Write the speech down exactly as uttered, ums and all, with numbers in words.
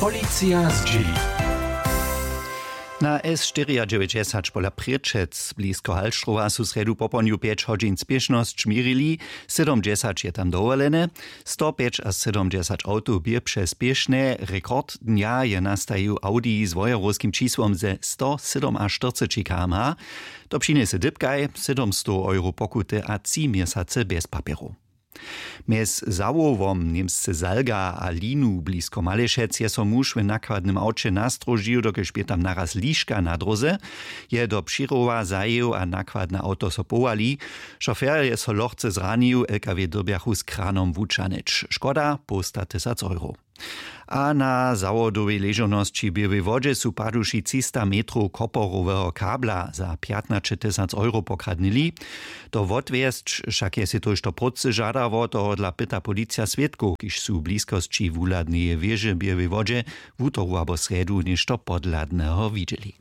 Policija zdźěli. Na S štyriadźewjećdźesać pola Prěčec blisko Halštrowa su srjedu popołdnju pjeć hodźin spěšnosć měrili, sydomdźesać je tam dowolene. Stopjećasydomdźesać awtow bě přespěšne. Rekord dnja je nastajił Audi z wojerowskim čisłom ze stosydomaštyrceći kmh. To přinjese dypkaj, sydomstow euro pokuty a tři měsace bjez papjerow. Mjez Zawołom, němsce Salga, a Linu blisko Malešec je so muž w nakładnym awće nastróžił, dokelž bě tam naraz liška na dróze. Je do Přirowa zajěł a nakładne awto so powali. Šofer je so lochce zranił, L K W dyrbjachu z kranom wućahnyć. Škoda połsta tysac euro. A na zawodowej ležownosći w Běłej Wodźe su paduši třista metrow koporoweho kabla za pjatnaćetysac euro pokradnyli. To wotwjesć wšak je sej tójšto prócy žadało, tohodla pyta policija swědkow, kiž su w bliskosći wuhladneje wěže w Běłej Wodźe wutoru abo srjedu něšto podhladneho widźeli.